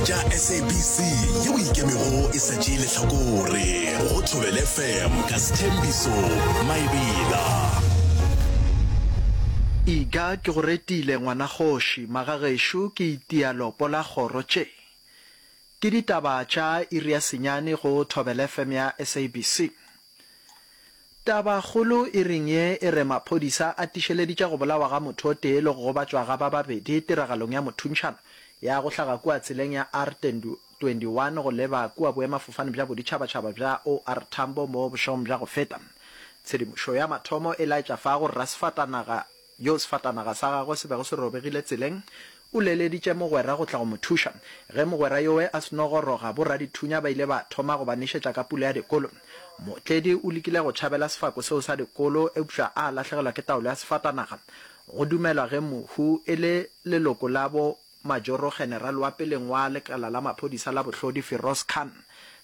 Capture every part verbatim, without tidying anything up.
tša S A B C yeo ikemego e sa tšee lehlakore go Thobela F M ka Sethembiso Maebela. Iga ke go retile ngwanakgoši, magagešo ke itia lopo la kgoro tše. Ke ditaba tša iri ya senyane go Thobela F M ya S A B C. Tabakgolo iring ye e re maphodisa a tišeleditše go bolawa ga motho o tee le go gobatšwa ga ba babedi tiragalong ya mothuntšhano ya go hlaga kua tseleng ya R twenty-one go leba kua boemafofane bja boditšhabatšhaba bja O R Tambo mo bošegong bja go feta. Tshedimošo ya mathomo e laetša fa gore rasefatanaga yo sefatanaga sa gagwe se bego se robegile tseleng o leleditše mogwera go tla go mo thuša. Ge mogwera yowe a seno goroga, boradithunya ba ile ba thoma go ba nešetša ka pula ya dikolo. Mootledi o lekile go tšhabela sefako seo sa dikolo eupša a lahlegelwa ke taolo ya sefatanaga. Go dumelwa ge mohu e le leloko la bo Majoro General wa peleng wa lekala la maphodisa la bohlodi Firoz Khan.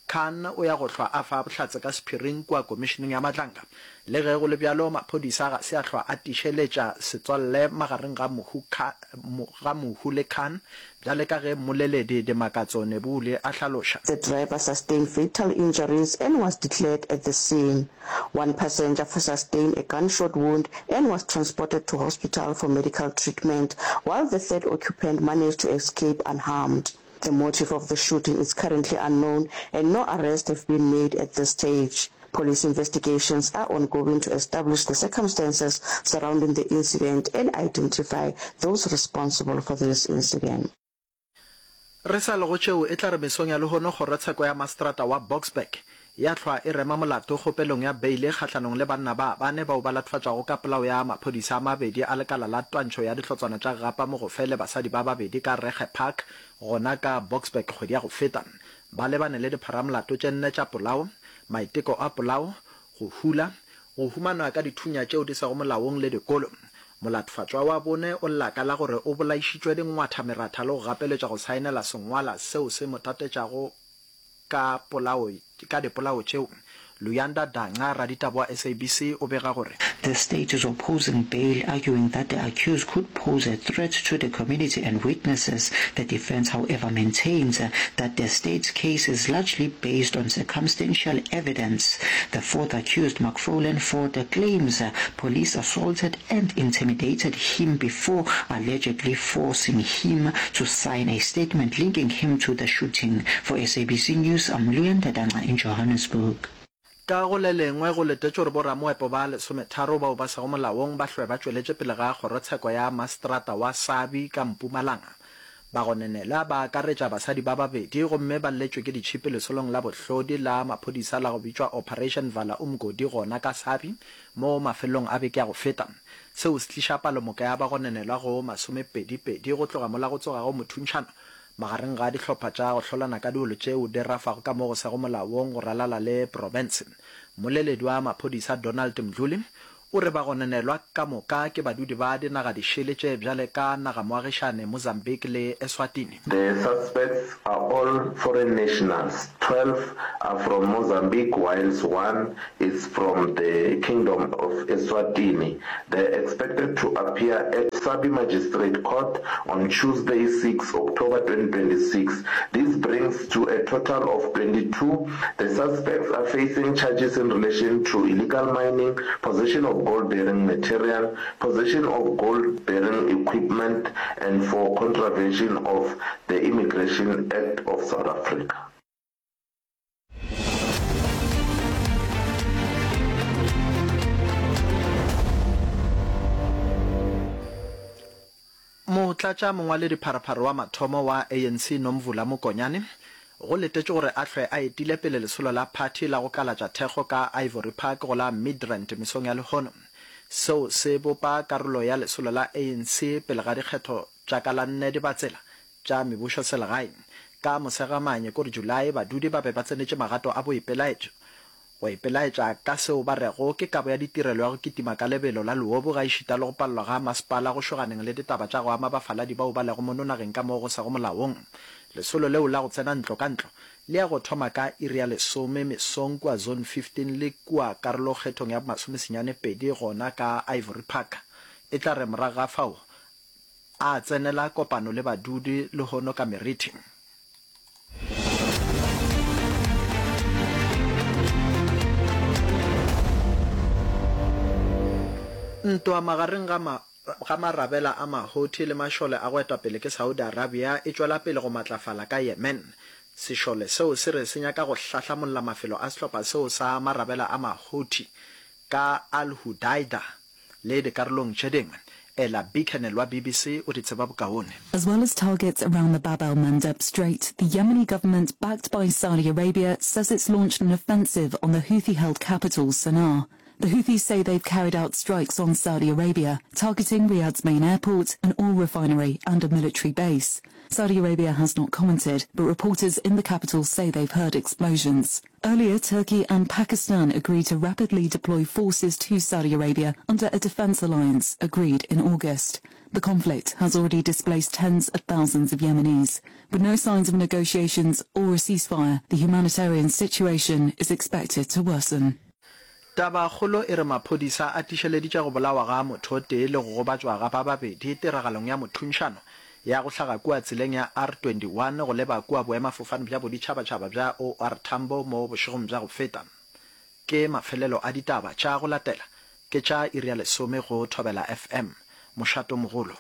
Khan o ya go hlwa a fa bohlatse ka sephiring kua komišeneng ya Madlanga. Le ge go le bjalo, maphodisa ga se a hlwa a tišeletša setswalle magareng ga mohu, ga mohu le Khan, bjale ka ge mmoleledi Dimakatso Nebuli a hlaloša. The driver sustained fatal injuries and was declared at the scene. One passenger sustained a gunshot wound and was transported to hospital for medical treatment, while the third occupant managed to escape unharmed. The motive of the shooting is currently unknown and no arrests have been made at this stage. Police investigations are ongoing to establish the circumstances surrounding the incident and identify those responsible for this incident. Re sa le go tšeo, e tla re mesong ya lehono kgorotsheko ya maseterata wa Boksburg ya hlwa e rema molato kgopelong ya beile kgahlanong le banna ba bane bao ba latofatšwago ka polao ya maphodisa a mabedi a lekala la twantšho ya dihlotswana tša gapa mogofe le basadi ba babedi ka Regge Park gona ka Boksburg kgwedi ya go feta. Ba lebane le dipharamolato tše nne tša polao, maiteko a polao, go hula, go humanwa ka dithunya tšeo di sego molaong le dikolo. Molatofatšwa wa bone o lla ka la gore o bolaišitšwe dingwatha meratha le go gapeletšwa go saenela sengwala seo se mo tatetšago ka polao ka dipolao tšeo. Luyanda Danca, raditaba wa S A B C, o bega gore The state is opposing bail, arguing that the accused could pose a threat to the community and witnesses. The defense, however, maintains that the state's case is largely based on circumstantial evidence. The fourth accused, McFarlane Ford, claims police assaulted and intimidated him before allegedly forcing him to sign a statement linking him to the shooting. For S A B C News, I'm Luyanda Danca in Johannesburg. Ka go le lengwe, go letetšwe gore boramoepo ba lesometharo bao ba sego molaong ba hlwe ba tšweletše pele ga kgorotsheko ya maseterata wa Sabie ka Mpumalanga. Bagononelwa ba akaretša basadi ba babedi gomme ba lletšwe ke ditšhipi lesolong la bohlodi la maphodisa la go bitšwa Operation Vala Umgodi gona ka Sabie mo mafelelong a beke ya go feta. Seo se tliša palomoka ya bagononelwa go masomepedi-pedi go tloga mola go tsogago mothuntšhano magareng ga dihlopha tša go hlolana ka diolo tšeo di rafago ka mo go sego molaong go ralala le profense. Mmoleledi wa maphodisa Donald Mdluli o re bagononelwa ka moka ke badudi ba dinaga dišele tše bjale ka nagamoagišane Mozambique le Eswatini. The suspects are all foreign nationals, twelve are from Mozambique whilst one is from the Kingdom of Eswatini. They are expected to appear at Sabie Magistrate Court on Tuesday, six October twenty twenty-six. This brings to a total of twenty-two. The suspects are facing charges in relation to illegal mining, possession of gold-bearing material, possession of gold-bearing equipment and for contravention of the Immigration Act of South Africa. Motlatša mongwaledipharephare wa mathomo wa A N C Nomvula Mokonyane go letetšwe gore a hlwe a etile pele lesolo la phathi la go kalatša thekgo ka Ivory Park go la Midrand mesong ya lehono. Seo se bopa karolo ya lesolo la A N C pele ga dikgetho tša ka la nne Dibatsela tša mebušo selegae. Ka Mosegamanye kore Julae badudi ba be ba tsenetše magato a boipelaetšo go ipelaetša ka seo ba rego ke kabo ya ditirelo ya go kitima ka lebelo la leobu gaešita le go palelwa ga masepala go šoganeng le ditaba tša go ama bafaladi bao ba lego mono nageng ka mo go sego molaong. Lesolo leo la go tsena ntlo ka ntlo le ya go thoma ka iri ya lesome mesong kua Zone fifteen le kua karolokgethong ya masomesenyane pedi gona ka Ivory Park. E tla re morago ga fao a tsenela kopano le badudi lehono ka merithi. Ntwa magareng ga ma ga marabela a ma-Houthi le mašole a go etwa pele ke Saudi Arabia e tšwela pele go matlafala ka Yemen. Sešole seo se re se nyaka go hlahlamolla mafelo a sehlopha seo sa marabela a ma-Houthi ka Al-Hudaydah le dikarolong tše dingwe. Ella Bickernell wa BBC o di tseba bokaone. As well as targets around the Bab el-Mandeb Strait, the Yemeni government, backed by Saudi Arabia, says it's launched an offensive on the Houthi-held capital, Sanaa. The Houthis say they've carried out strikes on Saudi Arabia, targeting Riyadh's main airport, an oil refinery and a military base. Saudi Arabia has not commented, but reporters in the capital say they've heard explosions. Earlier, Turkey and Pakistan agreed to rapidly deploy forces to Saudi Arabia under a defense alliance agreed in August. The conflict has already displaced tens of thousands of Yemenis. With no signs of negotiations or a ceasefire, the humanitarian situation is expected to worsen. Tabakgolo e re maphodisa a tišeleditše go bolawa ga motho o tee le go gobatšwa ga ba babedi tiragalong ya mothuntšhano ya go hlaga kua tseleng ya R twenty one go leba kua boemafofane bja boditšhabatšhaba bja O R Tambo mo bošegong bja go feta. Ke mafelelo a ditaba tša go latela ke tša iri ya lesome go Thobela F M, mošatomogolo.